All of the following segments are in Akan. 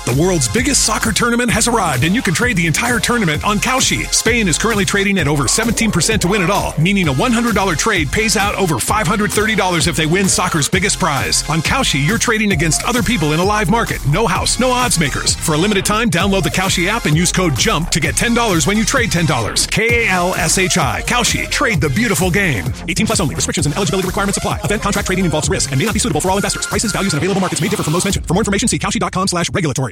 The world's biggest soccer tournament has arrived, and you can trade the entire tournament on Kalshi. Spain is currently trading at over 17% to win it all, meaning a $100 trade pays out over $530 if they win soccer's biggest prize. On Kalshi, you're trading against other people in a live market. No house, no odds makers. For a limited time, download the Kalshi app and use code JUMP to get $10 when you trade $10. K A L S H I. Kalshi. Trade the beautiful game. 18 plus only. Restrictions and eligibility requirements apply. Event contract trading involves risk and may not be suitable for all investors. Prices, values, and available markets may differ from those mentioned. For more information, see Kalshi.com slash regulatory.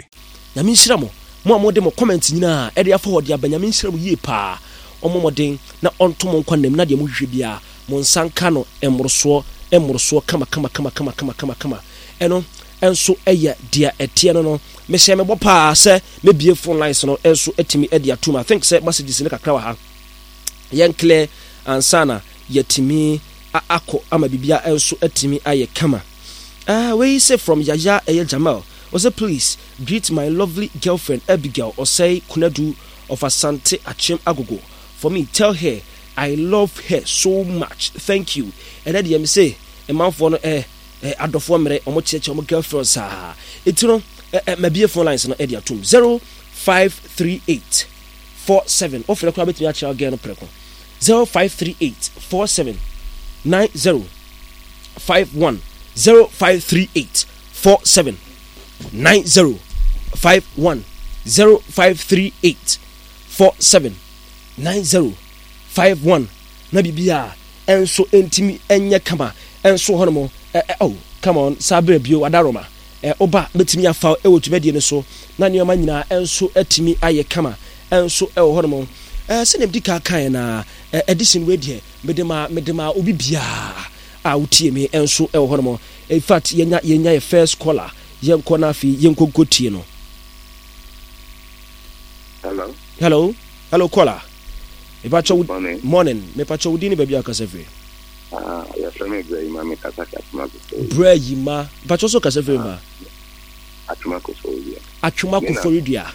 Nyame nhyira mo, mo a mode mo comment nyinaa ɛde afa hɔ de aba Nyame nhyira mo yie paa, ɔmmɔ mmɔden na ɔnto mo nkwa nnam na deɛ mohwehwɛ biara mo nsa nka no mmorosoɔ mmorosoɔ kama kama kama kama kama kama kama ɛno nso ɛyɛ deɛ ɛteɛ no no mehyɛ me bɔ paa sɛ mɛbie phone lines no nso atumi de atum I think sɛ messages no kakra wɔ ha yɛn clear ansa na yɛatumi akɔ ama biribiara nso atumi ayɛ kama. Ah, wei sɛ from Yaya ɛyɛ Jamal. Ɔsɛ please greet my lovely girlfriend Abigail Osei Kunadu of Asante Akyem Agogo for me tell her I love her so much thank you. Ɛnɛ deɛ me se mmanfoɔ no eh, eh, adɔfoɔ mmerɛ ɔmo kyerɛkyerɛ ɔmo girlfriend saa. Eti no eh, eh, mabie phone lines no ɛde atum 0538 47 wofrɛ koraa bɛtumi akyerɛ girl no prɛko 0538 47 90 51 0538 47 90 51 0538 47 90 51 na biribiara ɛnso ɛntumi ɛnyɛ kama ɛnso hɔ nom ɛ ɛ oh come on saa berɛ bio adaroma ɛ woba bɛtumi afa ɛwɔ dwumadie no so na nneɛma nyinaa ɛnso atumi ayɛ kama ɛnso ɛwɔ hɔ nom ɛ sɛdeɛ medi kan kaeɛ na ɛ edition wei deɛ mede ma mede ma obi biara a wotie me ɛnso ɛwɔ hɔ nom in fact yɛnya yɛnya yɛ first caller yɛnkɔ na afei yɛnkɔ nkɔ tie no. Hello. Hello. Hello caller. Mepakyɛ wo morning. Morning. Mepakyɛ wo din ne baabi a kasa firi. Ah, yɛfrɛ me Brɛ Yima, me kasa fi Atwoma Koforidua. Brɛ Yima. Mepakyɛ so kasa firi ma. Atwoma Koforidua. Atwoma Koforidua.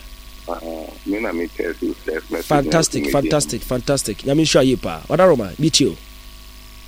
Ah, me na me text you text message. Fantastic, fantastic, fantastic. Nyame nhyira yie paa. Wadaroma, bi tie o.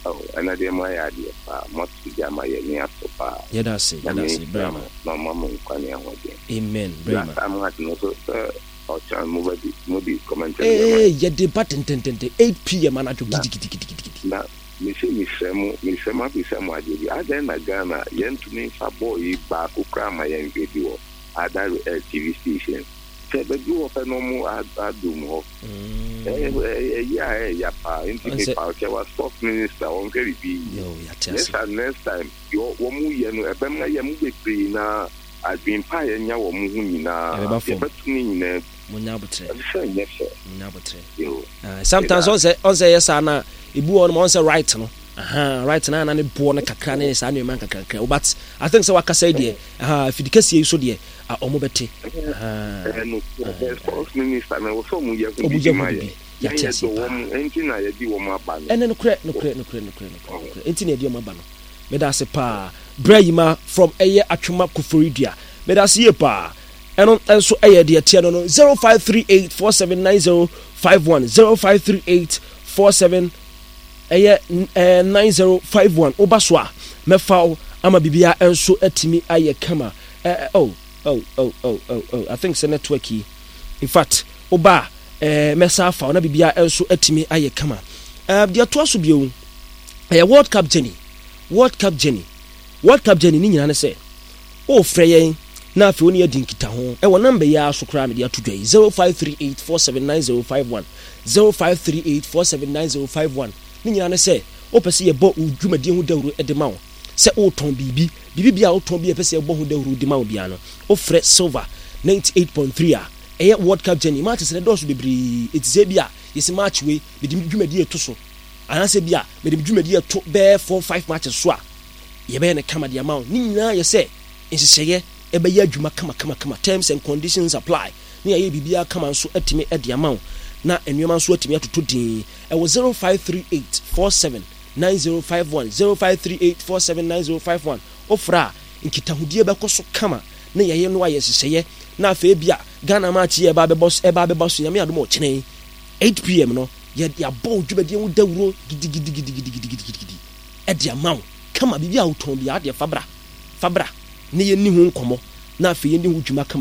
Oh, ɛna deɛ mo ayɛ adeɛ paa. Mo ato gya ma yɛ ni aso paa. Yɛda ase, yɛda ase, Brɛ Yima. Na ɔma mo nkwa ne ahoɔden. Amen, Brɛ Yima. Last time at no so sɛ ɔkyɛn mo bɛ di mo di commentary. Ee, yɛde ba tententente 8 pm anadwo gidigidigidigidi. Na mese mesrɛ mo mesrɛ mo abisa mo adeɛ bi adɛn na Ghana yɛntumi nfa bɔɔl yi baako koraa ma yɛnhwɛ bi wɔ other TV stations sɛ bɛduru hɔ pɛ na ɔmo adum hɔ ɛyɛ a ɛyɛ paa nti mepa kyɛ wa sports minister wɔnhwɛ biribi yie next time next time wɔn yɛ no ɛbɛma yɛ mo bebree na adwene pa a yɛnya wɔ mo ho nyinaa yɛbɛto ne nyinaa Munya abotrɛ. Ɛsɛ nyɛ fɛ. Munya abotrɛ. Sometimes ɔn sɛ ɔn sɛ yɛ saa na ebi wɔ hɔ ɔn sɛ right no. Aha, right na na ne boɔ no kakra ne saa nneɛma nkakrankra. But I think sɛ wakasa yi deɛ, aha, afidi kɛseɛ yi so deɛ, ɔmo bɛte. Aha. Ɛno, sports minister na wɔsɛ ɔmo yɛ ho bibi ma yɛ. Yɛate ase paa. Ɛnti na yɛde wɔn aba no. Ɛnɛ nokorɛ, nokorɛ, nokorɛ, nokorɛ, nokorɛ, nokorɛ. Ɛnti na yɛde wɔn aba no. Meda ase paa. Brɛ Yima from ɛyɛ Atwoma Koforidua. Meda ase yie paa. Ɛno nso yɛ deɛ ɛteɛ no no 0538 4790 51 0538 47 ɛyɛ 9051 woba so a mɛfa wo ama biribiara nso atumi ayɛ kama eh, oh, oh, oh, oh, oh, oh. I think sɛ network yi in fact woba a eh, mɛsa afa wo na biribiara nso atumi ayɛ kama eh, deɛ ɛtoa so bio ɛyɛ World Cup journey World Cup journey World Cup journey ne nyinaa ne sɛ Worefrɛ yɛn na afei wo ne yɛn adi nkitaho wɔ nɔmba yi ara so koraa a mede ato dwa yi, 0538479051, 0538479051. Ne nyinaa ne sɛ, wopɛ sɛ yɛbɔ wo dwumadie ho dawuro de ma wo, sɛ woretɔn biribi, biribi biara a wotɔn bi a yɛpɛ sɛ yɛbɔ ho dawuro de ma wo biara no, wofrɛ Silver 98.3 a, ɛyɛ World Cup Journey. Matches no dɔɔso bebree, enti sɛ ebia yɛsi match wei, mede me dwumadie reto so, anaasɛ ebia mede me dwumadie reto bɛyɛ four, five matches so a, Yɛbɛyɛ no kama de ama wo. Ne nyinaa yɛ sɛ nhyehyɛeɛ ɛbɛyɛ adwuma kama kama kama. Terms and conditions apply. Ne yɛayɛ biribiara kama nso atumi de ama wo. Na nneɛma nso atumi atotɔ din. Ɛwɔ 0538 47 9051, 0538 47 9051. Wofrɛ a, nkitahodie bɛkɔ so kama. Ne yɛyɛ no ayɛ nhyehyɛeɛ. Na afei ebia Ghana match yi a ɛba abɛbɔ ɛba abɛba so Nyame adom a ɔkyena yi 8 pm no yɛ yɛabɔ wo dwumadie ho dawuro gidigidigidigidigidi. de ama wo kama, biribi a wotɔn biara deɛ fa bra, fa bra na yɛnni ho nkɔmmɔ na afei yɛnni ho dwuma kama.